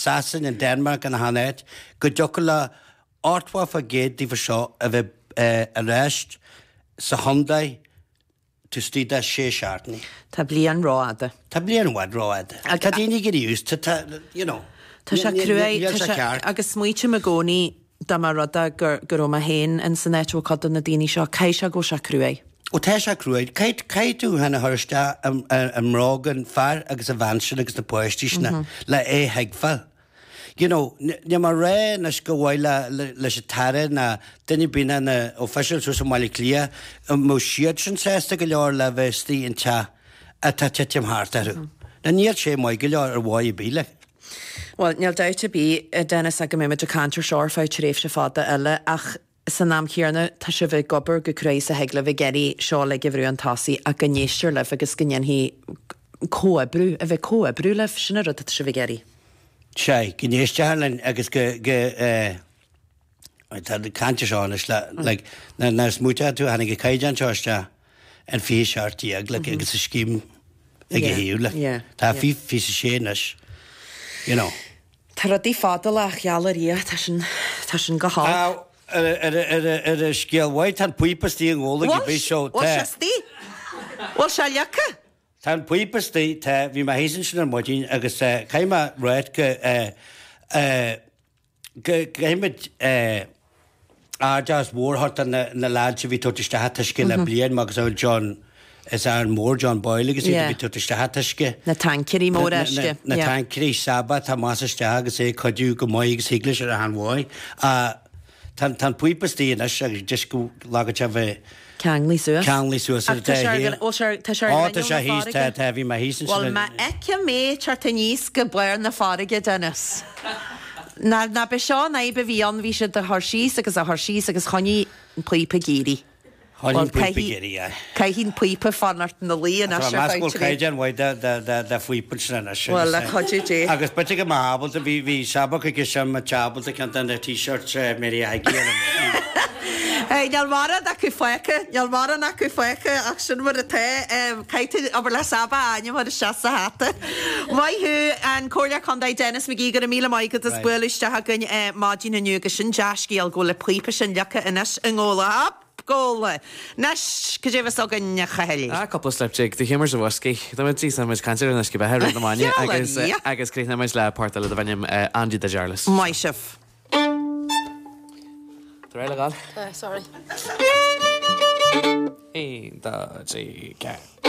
Sasain, an Denmark, in achan áit, go dtiocfadh le 80% díofa seo a bheith ar ais sa chontae taobh istigh de sé seachtainí. Tá bliain rófhada. Tá bliain i bhfad rófhada. Tá daoine ag éirí used to, tá, you know. Tá sé cruaidh, Níl sé ceart. Agus smaoitím i gcónaí dá mba rud é go go raibh mé féin in san áit a bhfuil cuid de na daoine seo, caithfidh sé go bhfuil sé cruaidh. Ó tá sé cruaidh. Caithfidh, caithfidh tú féin a chur isteach i mbróga an fear agus an bhean sin agus na páistí sin le é a thuigbheáil. You know, níl mé ag rá anois gur mhaith le, leis an tAire ná duine ar bith ná na officials thuas i mBaile Átha Cliath, an mbeadh siad sin sásta go leor le bheith istigh in teach atá ag titim thart orthu. Now níl sé maith go leor ar mhaith ar bith like. Bhuel, níl dabht ar bith, a Dennis, go mbeidh muid ag caint ar seo ar feadh tréimhse fada eile ach san am chéanna tá sibh ag obair go cruaidh is a thig libh ag iarraidh seo uilig a bhrú chun tosaigh ach go n-éistear libh agus go ndéanfaí comhoibriú, a bheith comhoibriú libh, sin an rud atá sibh ag iarraidh. Sea, go n-éistfear linn agus go, go eh, tá caint ar seo anois le, like, nuair a smaointeoidh tú, tháinig an caighdeán seo isteach in 2017, like, agus an scéim ag a thaobh, like, tá 26 anois, you know. Tá rudaí fadálach, gheall ar Dhia, tá sin, tá sin go holc. Ar ar ar scéal mhaith, tá an píopa istigh i nGabhla ag bith so tá. Bhfuil sé istigh? Bhfuil sé leagtha? Tá an píopa istigh, tá, bhí mé thíos ansin ar maidin agus caithfidh mé ráit go go gcaithfidh muid ardmheas mhór a thabhairt do na na lads a bhí ag tabhairt isteach an t-uisce le bliain mar gheall John is Aaron Mór, John Boyle agus iad a bhí ag tabhairt isteach an t-uisce. Na tancaeirí móra uisce. Na tancaeirí Saba atá amach is isteach agus é ag cuidiú go maith agus thig leis ar a shean-mhaith. Tá an píopa istigh anois agus just go leagfadh sé bheith Ceanglaithe suas. Ceanglaithe suas ar Ach tá sé ar bhfuil sé tá sé ar Ó tá sé thíos tá tá bhí mé thíos ansin. Bhuel má fheicim é ag teacht aníos go barr na farraige Dennis. Ná ná b'é seo an fhadhb a bhí ann bhí siad á chur síos agus á chur síos agus choinnigh an píopa ag éirí. Choinnigh an píopa ag éirí aye. Caithfidh an píopa fanacht ina luí anois ar feadh trí. Caighdeán mhaith de phíopa ansin anois. Bhuel, le cuidiú Dé. Agus b'fhéidir go mbeadh ábalta, bhí bhí Saba chuige sin, mbeadh ábalta ceann de na t-shirts Mary Aggie ar an Hey, níl mórán acu fágtha, níl mórán acu fágtha ach sin mar atá. Caithfidh tú obair le Saba a ainm a chur isteach sa hata. Maith thú, an Comhairleoir Contae Denis McGee, go raibh míle maith agat as bualadh isteach againn maidin inniu agus sin dea-scéal go bhfuil an píopa sin leagtha anois i nGabhla. Up! Gabhla. Anois, cad é a bheas againn, a Chathail? Ah, cúpla slip jig de Humours of Whiskey. Tá muid tá muid ag caint ar an uisce beatha rith na maidine agus agus críochnóidh muid le port eile darb ainm Andy the Jarless. Maith sibh. Tá réidh le dhul? Tá, sorry. 1, 2, 3, 4.